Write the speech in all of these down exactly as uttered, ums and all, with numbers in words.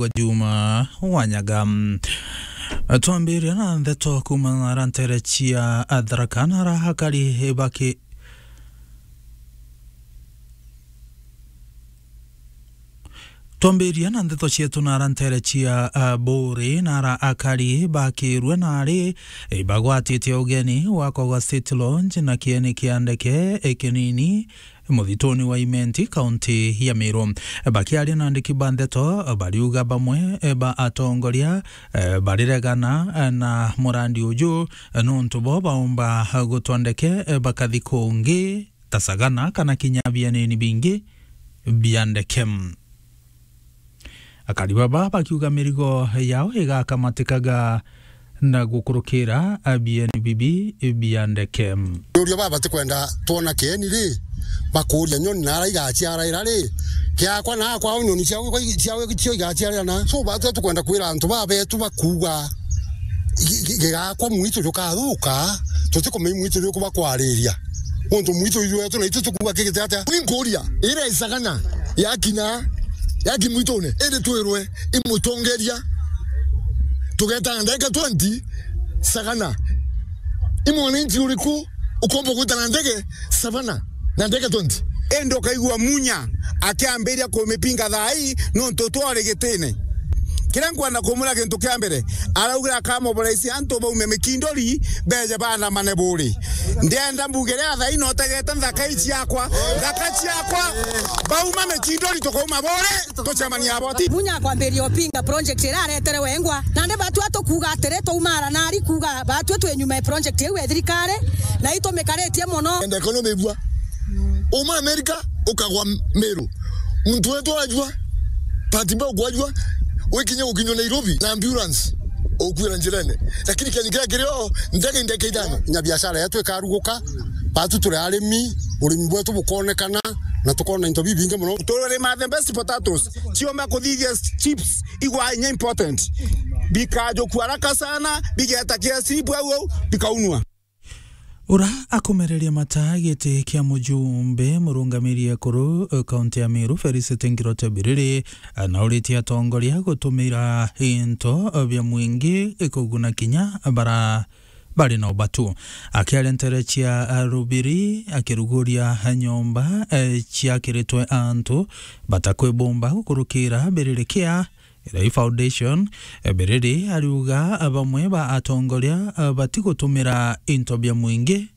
Juma Wanyaga. Twambiria na ndeto kuuma nara ntere cia Tharaka, nara akari baki Twambiria na ndeto cietu nara ntere cia, ah, Buuri, nara akari bakirue nari, eh, bagwatite ugeni gwakwa gwa State Lodge na kieni kia ndeke, eh, kinini muthituni wa Imenti, kaunti ya Meru. Bakiaria na andiki ba ndeto, bariuga bamwe, eh, ba atongoria, eh, bariregana, eh, na murandi uju, eh, nontu bo baumba, eh, gutwa ndeke, eh, bakathi kungi ta Sagana kana kinya bienini bingi bia ndeke. Akari baba bakiuga mirigo yao igakamatikaga na gukurukira bieni bibi bia ndeke. Uria baba tikwenda twona kieni ri, bakuria nyoni nara igaciaraira ri, kiakwa na akwa nyoni ciao, ciao cio igaciarira na. So, batu tukwenda kwira antu babetu bakuuga gi-, gi-, gigakwa mwitu jukathuka, tutikumenya mwitu juku bakwariria. Untu mwitu iju wetu na itu tukuuga kigite atia? Ni nkuria, ira i Sagana yakinya, yaki mwitune, indi twirwe i mutongeria, tugeta na ndagika twenty Sagana. I mwananchi uriku ukomba gwita na ndege Savana na ndagika twenty? Indi ukaigua Munya akiambiria kumipinga thaa ii nontu twari gitine. Kiria nkwenda kumwira, gintu kia mbere, araugira akamobilize antu baume Mikindori, beje baandamane Buuri. Ndienda mbuge ria thaa ino utegete nthaka ii ciakwa, nthaka ciakwa, bauma Mikindori, tukauma Buuri, tucemania aboti. Munya akwambiria upinga project ira aretere wengwa, nandi batwi tukuuga atiri, twaumara nari kuuga batwi twi nyuma ya project iu ya thirikari, na itumikaritie mono. Enda economy bua. Uma America, ukagwa Meru. Muntu wetu ajua, bahati mbaya ukwajua, wikinya gukinywa Nairobi na ambulance, ukwira njirene. Lakini kieni kiria kirio, ndege ndeke ithano. Nya biashara yetu ikaruguka, batu turi arimi, urimi bwetu bukonekana, na tukona into bibingi mono. Turima the best potatoes, ciomba kuthithia chips, igwa inya important. Bikajukua haraka sana, bigeta K S E bwau, bikaunwa. Ura akumereria mata giti kia mujumbe murungamiri ekuru, eh, kaunti ya Meru, Felicity Ngirote Biriri, anauritie atongoria gutumira into, eh, bia mwingi, eh, kuguna kinya bara bari na ubatu. Akiaria ntere cia, eh, Rubiri, akiruguria nyomba, eh, ciakiritwe antu batakwibumba gukurukira Biriri kia Rai Foundation, eh, Biriri ariuga, eh, bamwe ba atongoria, eh, batigutumira into bia mwingi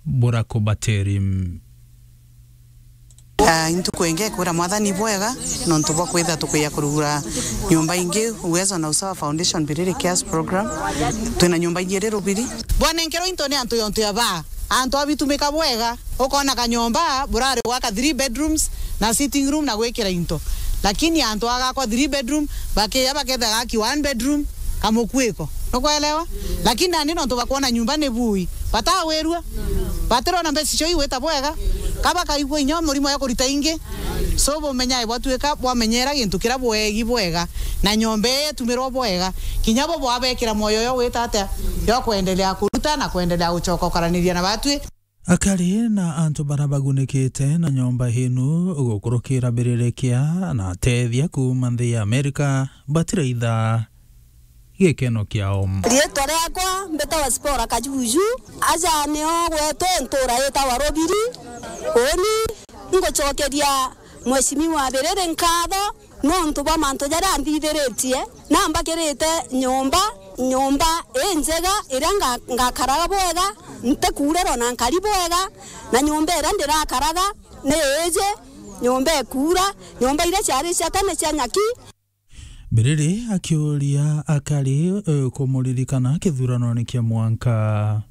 burakubatiri. Ah, intuku ingi kwira Mwathani bwega, nontu bwa kwitha tukwija kurugura nyomba ingi, Uwezo na Usawa Foundation, Biriri Cares Program. Twina nyomba ingi iri Rubiri. Bwanenkerwa into ni antu yontu ya baa, antu abitumika bwega. Ukona kanyomba burari gwaka three bedrooms na sitting room na gwikira into. Lakini antu agakwa three bedroom, bakiya baketha gaki one bedroom, kamukuiko. Nukwelewa? Lakini nandi nontu bakwona nyumba ni bui, batawirua. Batirona mbeca cio igwita bwega. Kaba kaigua inya murimo ya kurita ingi. So bumenyae bwatuika bwamenyera gintu kiria bwegi bwega. Na nyomba ii itumirwa bwega. Kinya bo bwabekira moyo yo gwita atia? Yo kwendelea kuruta na kwendelea gucoka ukaraniria na batwi. Akari na antu bara bagunikite na nyomba inu gukurukira Biriri kia na atethia kuuma nthi ya Amerika batiraitha gikeno kiao. Riitwa riakwa mbitawa Spora Kajuju. Aja nio gwetu ntura yitawa Rubiri. Uni ngucokeria Mheshimiwa Biriri nkatho nontu bwa mantu jaria anthithiritie, na mbakirite nyomba, nyomba injega iria nga-, ngakaraga bwega, ntikuurerwa na nkari bwega, na nyomba iria ndirakaraga ni iji, nyomba ikuura, nyomba iria ciari cia tene cia nyaki. Biriri akiuria akari, eh, kumuririkana kithuranone kia mwanka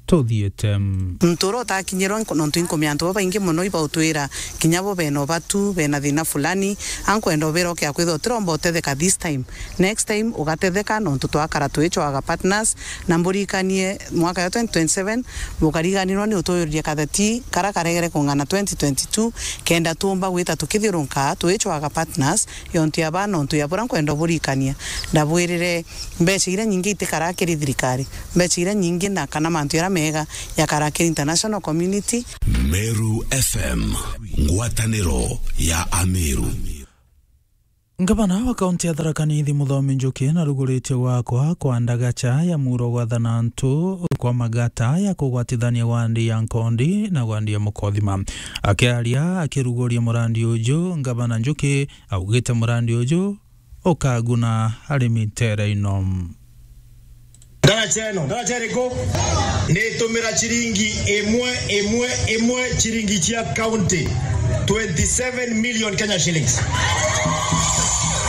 tuthiite. Muntu uria utakinyirwa nku-, nontu inkumia antu babaingi mono ibautwira kinya bo bena ubatu, bena thina fulani, ankwenda ubira ukia kwithwa utiromba utetheka this time. Next time ugatetheka nontu twakara twichwaga partners, na mburikanie mwaka ya twenty twenty-seven bukariganirwa ni utuyuririe katheti kara karegere kung'ana twenty twenty-two, kenda tuumba gwita tukithiurunka twichwaga partners, yontu ya baa nontu ya buria nkwenda uburikania. Ndabwirire, mbeca iria nyingi itikaraa kiri thirikari, mbeca iria nyingi na kana mantu jaria mega jakaraa kiri international community. Meru F M, ngwataniro ya Ameru. Ngavana wa kaunti ya Tharaka Nithi, Muthomi Njuki, naruguritie gwakwa kwa ndagacha ya muro gwathana antu kwa magata ya kugwatithania wandi ya Nkondi na wandi ya Mukothima. Akiaria akiruguria murandi uju, Ngavana Njuki augite murandi uju ukaguna arimi nteere ino. Ndaraca ino, ndaraca iriku? Nitumira ciringi imwe, imwe, imwe, ciringi cia county, twenty seven million Kenya shillings.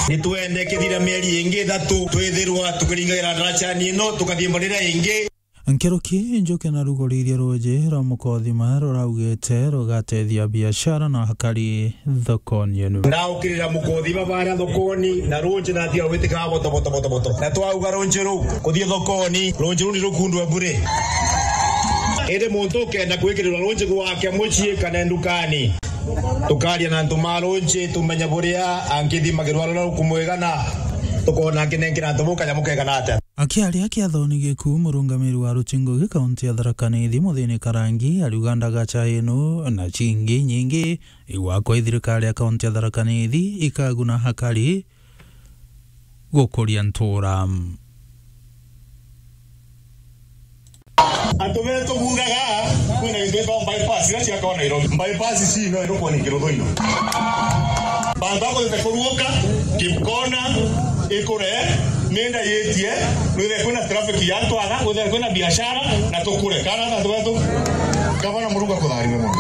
Nitwende kithira mieri ingi ithatu, twithirwa tukiringagira ndaraca ino, tukathii mbarira ingi. Nkuruki Njuki naruguririe ruuji rwa Mukothima ruraugite rugatethia biashara na akari thokoni enu. Ndaukirira Mukothima baria thokoni, na ruuji natiga gwitikaa boto, boto, boto, boto. Na twauga ruuji ruu kuthii thokoni, ruuji ruu ni rukundwe bure. Indi muntu ukenda gwikirirwa ruuji gwake mucii kana ndukani, tukaria na antu ma ruuji, tumenye buria angithimagirwa ruria rukumwigana, tukona akinenkera antu bau kanyamu kegana atia. Akiaria kiathoni giku, murungamiri wa rutingo gi kaunti ya Tharaka Nithi, Muthini Karangi, ariuga ndagacha ino na cingi nyingi igwakwa i thirikari ya kaunti ya Tharaka Nithi ikaguna akari gukuria ntura. Antu betu bugaga kwina gintu gitagwa bypass iria ciakwa Nairobi. Bypass ici no irukwo ni kiruthu ino. Bantu bakwite kuruuka, Kipkona, ikure, minda yitie, nwithe kwina traffic ya antu aga, nwithe kwina biashara, na tukure. Kana antu betu, Gavana Murungu akutharime mono.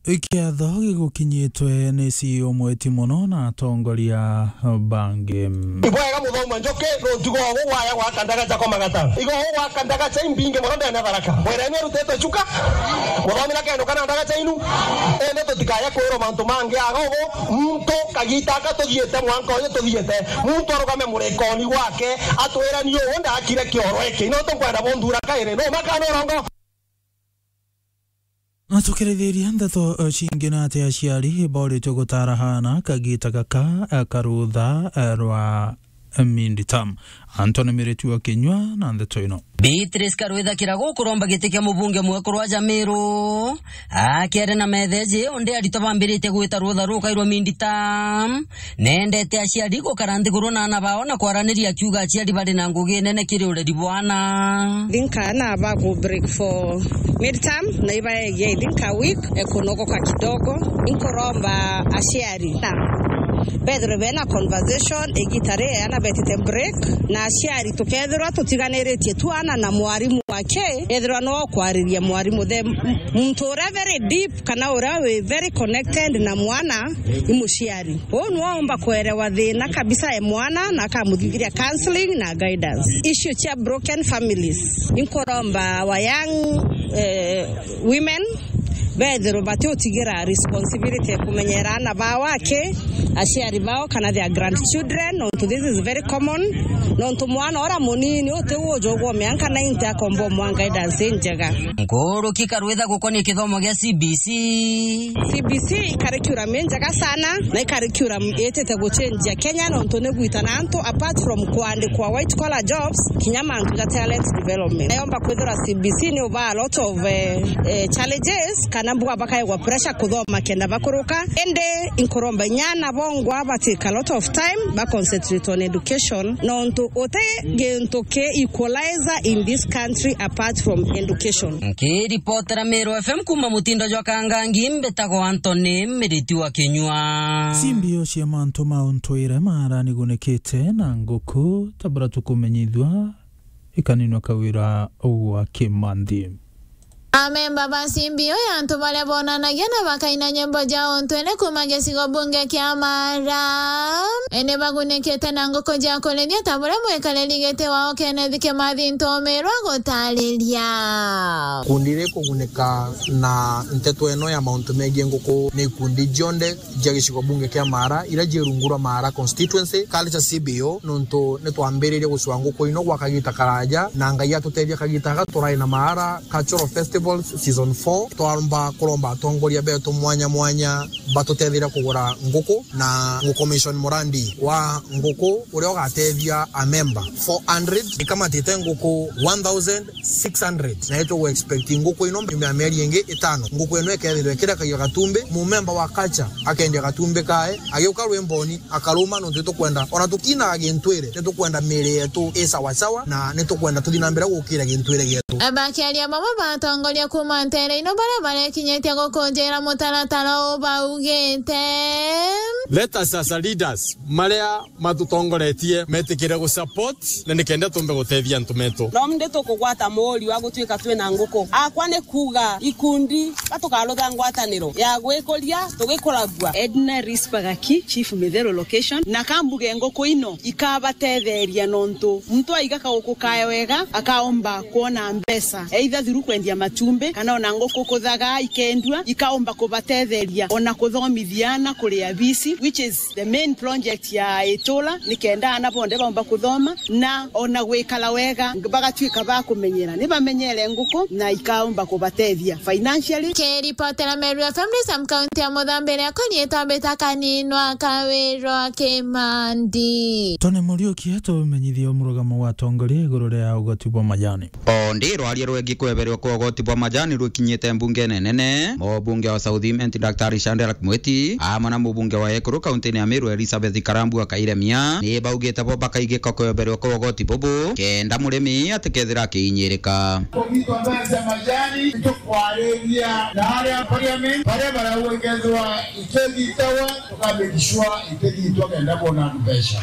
Ikiatho gigukinyitwe ni C E O mweti mono na atongoria bangi. Ibwega Muthomi Njuki, ruuji rwaku gwaya gwaka ndagacha kwa magata. Igo gwaka ndagacha imbingi mono ndene Tharaka. Mwireni arutitwe chuka. Muthomi na kendo kana ndagacha inu. Ende tutikaye kwirwo mantu mangi aga ugu. Muntu kagita aka tuthiite mwanka uyu tuthiite. Muntu arugame murikoni gwake. Atwirani uu ndakire kioro iki. Ino tukwenda bunthura kairi. No makana urongo. Na tukirithiria ndeto, eh, cingi na ati aciari boritwe gutara aana kagita gaka, eh, karutha, eh, rwa, eh, mid-term. Anthony Miritu wa Kinyua na ndeto ino. Beatrice Karwitha Kiragu kuromba giti kia mubunge mwekuru wa Jamiru. Akiaria na metheji, undi aritwa bambiritie gwita rutha rukairwa mid-term. Nendete aciari gukara nthiguru na aana bao na kwaraniria, akiuga aciari bari na ngugi nene kiri ureri bwa aana. I think aana baku break for midterm na ibaegia, I think, a week, ekunogoka kidogo. Inkuromba aciari na bethirwe bena conversation igita ri aana betite break, na aciari tukethirwa tutiganiritie tu aana na mwarimu wake, ethirwa no kwariria mwarimu, the m-, muntu uria very deep kana uria wi very connected na mwana i muciari. Uu nwaomba kuerewa thina kabisa e mwana na akamuthithiria counseling na guidance. Issue cia broken families. Inkuromba our young, eh, women bethirwe batiutigira responsibility ya kumenyera aana bao aki, aciari bao kana their grandchildren, nontu this is very common. Nontu mwana uria munini uti ujugwa mianka ninety akomba umwa guidance injega. Nkuruki Karwitha gukonia kithomo gia C B C. C B C i curriculum injega sana, na i curriculum itite guchenjia Kenya, nontu ni gwitana antu, apart from kuandikwa white collar jobs, kinya mantu ja talent development. Nayomba kwithirwa C B C ni uba a lot of, eh, eh, challenges, kana mbuga bakaegwa pressure kuthoma kenda bakuruka. Indi inkuromba inya aana bongwa ba take a lot of time, ba concentrate on education, nontu uti gintu ki equalizer in this country apart from education. Nkiripotera Meru F M kuma mutindo jwa Kangangi, mbitagwa Anthony Miriti wa Kinyua. Cimbio cia mantu ma untwire mara nigunikite na nguku, tabura tukumenyithua ikaninwa kawira gwa Kimanthi. Amemba ba cimbio ya antu baria bonanagia na bakaina nyimbo ja untwire kuma gicigo bunge kia Mara, ni bagunikite na nguku ja kurithia ta buria mwikariri giti wao Kenneth Kimathi Ntomirwa gutariria. Ikundi rikugunika na nteto ino ya mauntu megii nguku ni ikundi cionthe cia gicigo bunge kia Mara, iria cii rungu rwa Mara constituency, kari ca C B O, nontu nitwambiririe gucua nguku ino gwa kagita karaja, na Ngai atutethia kagita gaka turai na Mara Cultural Festival. Festivals Season four, twaromba kuromba atongoria betu mwanya mwanya batutethire kugura nguku na nguku mission murandi wa nguku uria ugatethia a member four hundred. Ikamatite nguku one thousand six hundred, na itugu expect nguku ino nyuma ya mieri ingi itano nguku ino ikethirwa ikirekagia gatumbi. Mumemba wa culture akendia gatumbi kae, agiuka rwimboni akaruma, nontu nitukwenda ona tukinaga gintwire, nitukwenda miiri yetu i sawasawa, na nitukwenda tuthi na mbere gukira gintwire gietu. Bakiaria bamwe ba atongoria kuuma nteere ino baria barekinyitie gukunjira mutaratara uu baugite, let us as a leaders, maria matutongoretie metikire gu support na nikenda tumbe gutethia antu metu. No ndi tukugwata muuri wa gutuika twina nguku. Akwa ni kuuga ikundi batukarutha ngwataniro ya gwikuria tugikuragua. Edna Rispa Gaki, Chief Mitheru Location, na kambuge nguku ino ikabatetheria nontu muntu aiga kauku kae wega akaomba kwona mbeca, either through kwendia matumbi kana ona nguku kuthaga ikendua, ikaomba kubatetheria ona kuthomithia ana kuria bisi, which is the main project ya itura, nikenda ana bonthe baumba kuthoma na ona gwikara wega, bagatuika ba kumenyera, ni bamenyere nguku na ikaumba kubatethia financially. Kiripotera Meru F M ni Sam, kaunti ya Muthambi, riakwa riitwa Mbita Kaninwa Kawirwa Kimandi. Tony Muriuki atumenyithia murugamo wa atongoria iguru ria ugoti bwa majani. O ndi rwaria rwengi kweberwa kwa ugoti bwa majani rwikinyite mbungene nene, mubunge wa South Imenti Daktari Shadrack Mwiti amwe na mubunge wa Ekuru kauntini ya Meru Elizabeth Karambua Kairemia ni baugite bo bakaigika kweberwa kwa ugoti bubu kenda murimi atikethira akiinyirika. Kugitwa mbeca cia majani, nitukwariria na aria parliament, baria barauga ikethirwa ikigitawa, tuka make sure itigitwa kenda bona mbeca.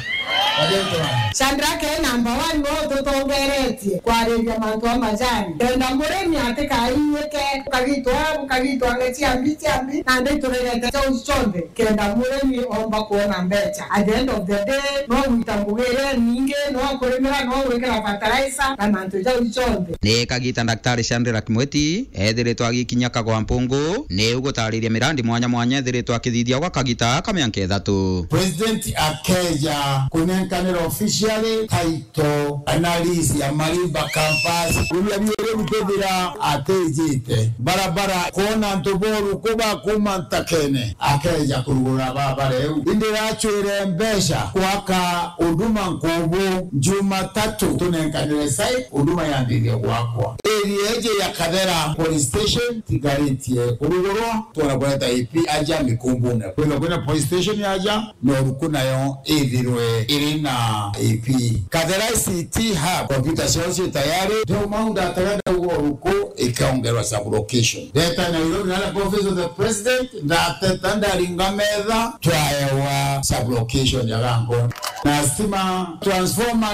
Shadrack e number one no tutongeretie kwariria mantu a majani. Kenda murimi atikainyike, ukagitwa, ukagitwa nge ciambi, ciambi, na ndi turegete jau cionthe. Kenda murimi omba kwona mbeca. At the end of the day, no gwita ngugi iria ningi, no kurimira, no gwikira fertilizer, na mantu jau cionthe. Ni kagita Daktari Shadrack Mwiti ethiritwe agikinya Kagwa Mpungu, ni ugutariria mirandi mwanya mwanya ethiritwe akithithia gwa kagita ka mianka ithatu. President akeja kunenkanira officially title analysis ya Malimba campus. Uria biuri bikethira atijite barabara, kwona antu boru kuba kuma ntakene, akeja kurugura barabara iu. Indi rachwire mbeca gwaka Huduma Nkubu, Jumatatu tunenkanire site, Huduma yambiririe gwakwa. Area iji ya Kathera Police Station tigaritie kurugurwa, twona kureta A P aja Mikumbune. Kwithirwa kwina police station yaja, na uruku nayo ithirwe iri na A P. Kathera I C T Hub, kompyuta ciao ci tayari. Ndio maundu atega ndauga uruku ikaongerwa sub-location. Ndeta Nairobi, naria kwa office of the president, ndateta ndaringa metha, twaewa sub-location ya Gangoni. Na stima transformer